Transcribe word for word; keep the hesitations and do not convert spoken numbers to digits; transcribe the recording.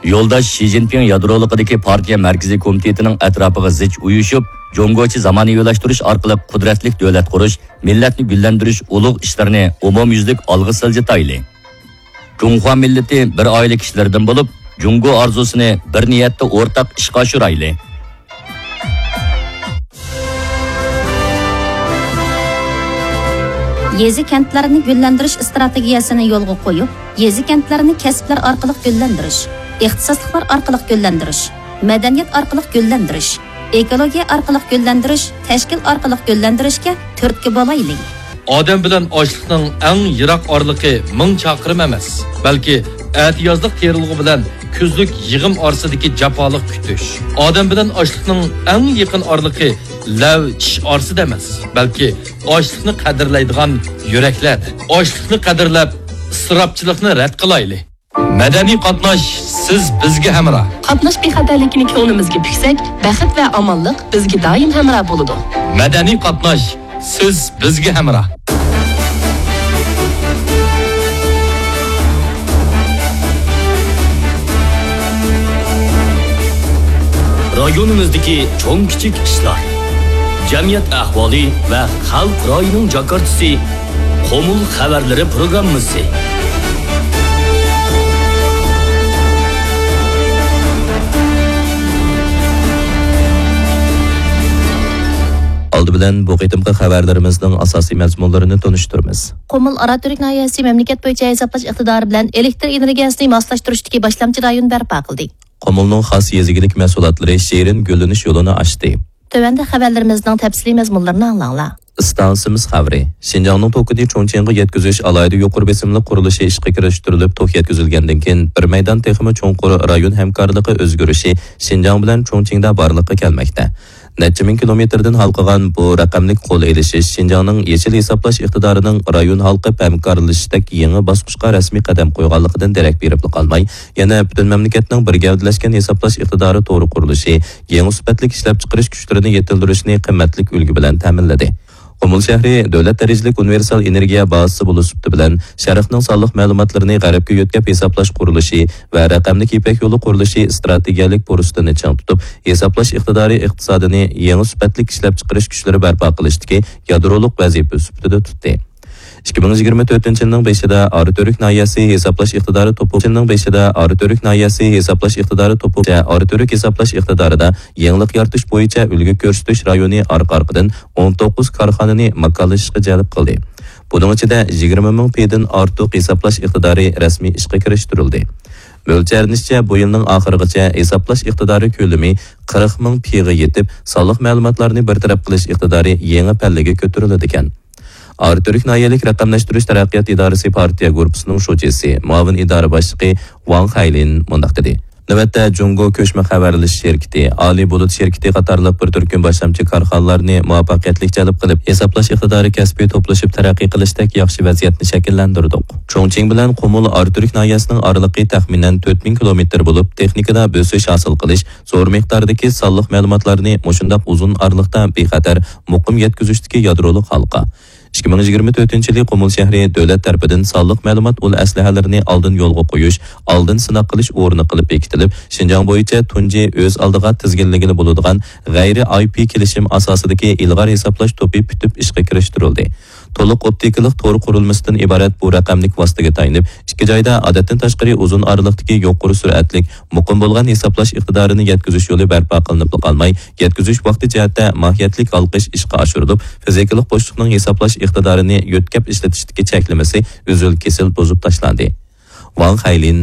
يولداش شى جىنپىڭ يادرولۇقىدىكى پارتىيە مەركىزىي كومىتېتىنىڭ ئەتراپىغا زىچ ئۇيۇشۇپ، جۇڭگوچە زامانىۋىلاشتۇرۇش ئارقىلىق قۇدرەتلىك دۆلەت قۇرۇش، مىللەتنى گۈللەندۈرۈش ئۇلۇغ ئىشلىرىنى ئومۇميۈزلۈك ئالغا سىلجىتايلى. جۇڭخۇا مىللىتى بىر ئائىلە كىشىلىرىدىن بولۇپ، جۇڭگو ئارزۇسىنى بىر نىيەتتە ئورتاق ئىشقا ئاشۇرايلى. يېزا-كەنتلەرنى گۈللەندۈرۈش ئىستراتېگىيەسىنى يولغا قويۇپ، يېزا-كەنتلەرنى كەسىپلەر ئارقىلىق گۈللەندۈرۈش، ئىختىساسلىقلار ئارقىلىق گۈللەندۈرۈش، مەدەنىيەت ئارقىلىق گۈللەندۈرۈش، ئېكولوگىيە ئارقىلىق گۈللەندۈرۈش، تەشكىل ئارقىلىق گۈللەندۈرۈشكە تۈرتكە بولايلى. ئادەم بىلەن ئاشلىقنىڭ ئەڭ يىراق ئارىلىقى مىڭ چاقىرىم ئەمەس، بەلكى ئەتىيازلىق تېرىلغۇ بىلەن كۈزلۈك يىغىم ئارىسىدىكى جاپالىق كۈتۈش. ئادەم بىلەن ئاشلىقنىڭ ئەڭ يېقىن ئارىلىقى لەۋ چىش ئارىسىدا ئەمەس، بەلكى ئاشلىقنى قەدىرلەيدىغان يۈرەكلەردە. ئاشلىقنى قەدىرلەپ، ئىسراپچىلىقنى رەت قىلايلى. مەدەنىي قاتناش، سىز بىزگە ھەمراھ. قاتناش بىخەتەرلىكىنى كۆڭلىمىزگە پۈكسەك، بەخت ۋە ئامانلىق بىزگە دائىم ھەمراھ بولىدۇ. مەدەنىي قاتناش، سىز بىزگە ھەمراھ. رايونىمىزدىكى چوڭ كىچىك ئىشلار، جەمئىيەت ئەھۋالى ۋە خەلق رايىنىڭ جاكارتىسى، قۇمۇل خەۋەرلىرى پروگراممىسى. ئالدى بىلەن بۇ قېتىمقى خەۋەرلىرىمىزنىڭ ئاساسىي مەزمۇنلىرىنى تونۇشتۇرىمىز. قۇمۇل ئاراتۈرك ناھىيەسى مەملىكەت بويىچە ھېسابلاش ئىقتىدارى بىلەن ئېلېكتر ئېنېرگىيەسىنى ماسلاشتۇرۇشتىكى باشلامچى رايون بەرپا قىلدى. قۇمۇلنىڭ خاس يېزا ئىگىلىك مەھسۇلاتلىرى شېرىن گۈللىنىش يولىنى ئاچتى. تۆۋەندە خەۋەرلىرىمىزنىڭ تەپسىلىي مەزمۇنلىرىنى ئاڭلاڭلار. ئىستانسىمىز خەۋىرى. شىنجاڭنىڭ توكىنى چۇڭچىڭغا يەتكۈزۈش ئالاھىدە يۇقىرى بېسىملىق قۇرۇلۇشى ئىشقا كىرىشتۈرۈلۈپ، توك يەتكۈزۈلگەندىن كېيىن، بىر مەيدان تېخىمۇ چوڭقۇر رايون ھەمكارلىقى ئۆزگىرىشى شىنجاڭ بىلەن چۇڭچىڭدا بارلىققا كەلمەكتە. نەچچە مىڭ كىلومېتىردىن ھالقىغان بۇ رەقەملىك قول ئېلىشىش شىنجاڭنىڭ يېشىل ھېسابلاش ئىقتىدارىنىڭ رايون ھالقىپ ھەمكارلىشىشتەك يېڭى باسقۇچقا رەسمىي قەدەم قويغانلىقىدىن دېرەك بېرىپلا قالماي، يەنە پۈتۈن مەملىكەتنىڭ بىر گەۋدىلەشكەن ھېسابلاش ئىقتىدارى تورى قۇرۇلۇشى، يېڭى سۈپەتلىك ئىشلەپچىقىرىش كۈچلىرىنى يېتىلدۈرۈشنى قىممەتلىك ئۈلگە بىلەن تەمىنلىدى. قۇمۇل شەھىرى دۆلەت دەرىجىلىك ئۇنىۋېرسال ئېنېرگىيە بازىسى بولۇش سۈپىتى بىلەن، شەرقنىڭ سانلىق مەلۇماتلىرىنى غەربكە يۆتكەپ ھېسابلاش قۇرۇلۇشى ۋە رەقەملىك يىپەك يولى قۇرۇلۇشى ئىستراتېگىيەلىك پۇرسىتىنى چىڭ تۇتۇپ، ھېسابلاش ئىقتىدارى ئىقتىسادىنى يېڭى سۈپەتلىك ئىشلەپچىقىرىش كۈچلىرى بەرپا قىلىشتىكى يادرولۇق ۋەزىپە سۈپىتىدە تۇتتى. ئىككى مىڭ يىگىرمە تۆتىنچى يىلنىڭ بېشىدا ئاراتۈرك ناھىيەسى ھېسابلاش ئىقتىدارى توپى، يىلنىڭ بېشىدا ئاراتۈرك ناھىيەسى ھېسابلاش ئىقتىدارى توپى، ئاراتۈرك ھېسابلاش ئىقتىدارىدا يېڭىلىق يارىتىش بويىچە ئۈلگە كۆرسىتىش رايونى ئارقا-ئارقىدىن ئون توققۇز كارخانىنى ماكانلىشىشقا جەلپ قىلدى. بۇنىڭ ئىچىدە يىگىرمە مىڭ پىدىن ئارتۇق ھېسابلاش ئىقتىدارى رەسمىي ئىشقا كىرىشتۈرۈلدى. مۆلچەرلىنىشىچە، بۇ يىلنىڭ ئاخىرىغىچە ھېسابلاش ئىقتىدارى كۆلىمى قىرىق مىڭ پىغا يېتىپ، سانلىق مەلۇماتلارنى بىر تەرەپ قىلىش ئىقتىدارى يېڭى پەللىگە كۆتۈرۈلىدىكەن. ئاراتۈرك ناھىيەلىك رەقەملەشتۈرۈش تەرەققىيات ئىدارىسى پارتىيە گۇرۇپپىسىنىڭ شۇجىسى، مۇئاۋىن ئىدارە باشلىقى ۋاڭ خەيلىن مۇنداق دېدى. نۆۋەتتە جۇڭگو كۆچمە خەۋەرلىشىش شىركىتى، ئالىي بۇلۇت شىركىتى قاتارلىق بىر تۈركۈم باشلامچى كارخانىلارنى مۇۋەپپەقىيەتلىك جەلپ قىلىپ، ھېسابلاش ئىقتىدارى كەسپى توپلىشىپ تەرەققىي قىلىشتەك ياخشى ۋەزىيەتنى شەكىللەندۈردۇق. چۇڭچىڭ بىلەن قۇمۇل ئاراتۈرك ناھىيەسىنىڭ ئارىلىقى تەخمىنەن تۆت مىڭ كىلومېتىر بولۇپ، تېخنىكىدا بۆسۈش ھاسىل قىلىش، زور مىقداردىكى سانلىق مەلۇماتلارنى مۇشۇنداق ئۇزۇن ئارىلىقتا بىخەتەر، مۇقىم يەتكۈزۈشتىكى يادرولۇق ھالقا. ئىككى مىڭ يىگىرمە تۆتىنچى يىلى قۇمۇل شەھىرى دۆلەت تەرىپىدىن سانلىق مەلۇمات ئۇل ئەسلىھەلىرىنى ئالدىن يولغا قويۇش، ئالدىن سىناق قىلىش ئورنى قىلىپ بېكىتىلىپ، شىنجاڭ بويىچە تۇنجى ئۆز ئالدىغا تىزگىنلىگىلى بولىدىغان غەيرىي ئاي پى كېلىشىم ئاساسىدىكى ئىلغار ھېسابلاش توپى پۈتۈپ ئىشقا كىرىشتۈرۈلدى. تولۇق ئوپتىكىلىق تور قۇرۇلمىسىدىن ئىبارەت بۇ رەقەملىك ۋاسىتىگە تايىنىپ، ئىككى جايدا ئادەتتىن تاشقىرى ئۇزۇن ئارىلىقتىكى يۇقىرى سۈرئەتلىك، مۇقىم بولغان ھېسابلاش ئىقتىدارىنى يەتكۈزۈش يولى بەرپا قىلىنىپلا قالماي، يەتكۈزۈش ۋاقتى جەھەتتە ماھىيەتلىك ھالقىش ئىشقا ئاشۇرۇلۇپ، فىزىكىلىق بوشلۇقنىڭ ھېسابلاش ئىقتىدارىنى يۆتكەپ ئىشلىتىشتىكى چەكلىمىسى ئۈزۈل-كېسىل بۇزۇپ تاشلاندى. ۋاڭ خەيلىن